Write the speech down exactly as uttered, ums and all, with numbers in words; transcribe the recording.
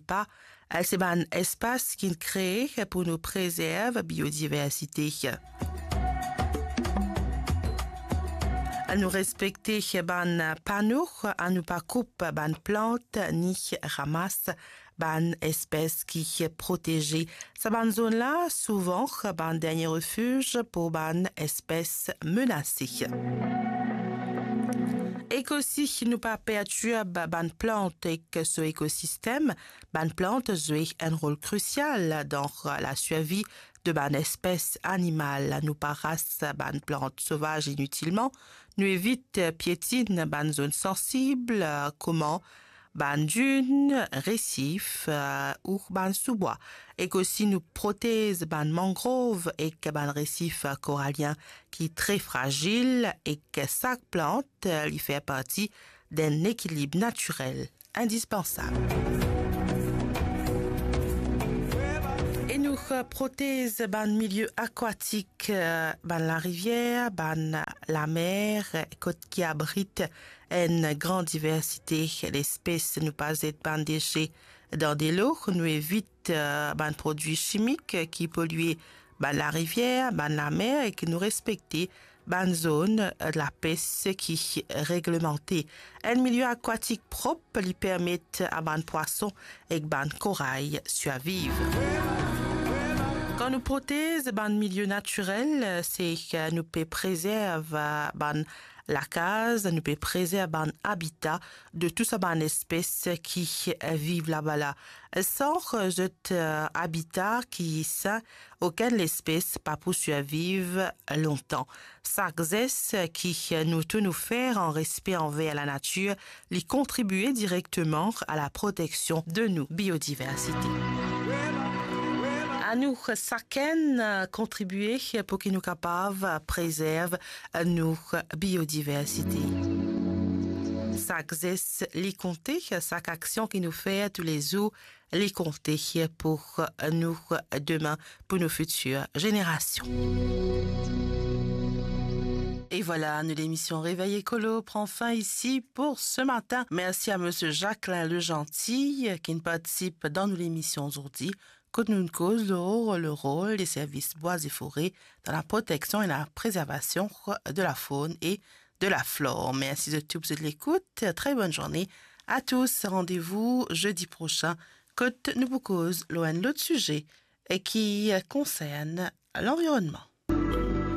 pa, se bann espas ki'nn kree pou nou prezerv biodiversite. Anou respekte bann pano, anou pa koup bann plant ni ramas bann espes ki proteze. Sa bann zonn la, souvan, bann dernie refiz pou bann espes menase. Ek osi, nou pa pertirb bann plant ek so ekosistem. Bann plant zwe enn rol krisial dan lasurvi de bann espes animal. Nou pa ras bann plant sovaz initilman. Nou evit pietinn bann zonn sansib, kouma bann din, resif, eh, ou bann soubwa. Ek osi nou protez bann mangrov ek bann resif koralien ki tre frazil, ek sak plant, eh, li fer parti d'enn ekilib natirel indispansab. E nou, eh, protez bann milie akwatik, eh, bann larivier, bann lamer, kot ki abrit enn gran diversite lespes. Nou pa zet bann dese dan delo, nou evit, eh, bann prodwi simik ki polie bann larivier, bann lamer, ek nou respekte bann zonn lapes ki reglemante. Enn milie akwatik prop, li permet a bann pwason ek bann koray sirviv. Kan nou protez bann milie natirel, se ki nou pe prezerv bann lakaz, nou pe prezerv bann abita de tou sa bann espes ki viv laba la. San zot, eh, abita ki sin, okenn lespes pa pou sirviv lontan. Sak zes ki nou tou nou fer an respe anver lanatir, li kontribie direkteman a la proteksion de nou biodiversite. Anou sakenn, eh, kontribie pou ki nou kapav prezerv nou biodiversite. Sak zes li konte, sak aksion ki nou fer toulezour li konte pou nou demin, pou nou fitir zenerasion. E vwala, nou lemision Réveil Écolo pran fin isi pou se matin. Mersi a Misie Jacquelin Legentil, ki'nn partisip dan nou lemision zordi, kot nou'nn koz lor le rol de servis bwa e fore dan la proteksion e la prezervasion de la faune e de la flore. Mersi zot tou pou zot lekout. Tre bonn zourne a tous. Randevou zedi prosin, kot nou pou koz lor enn lot size ki konsern lanvironnman.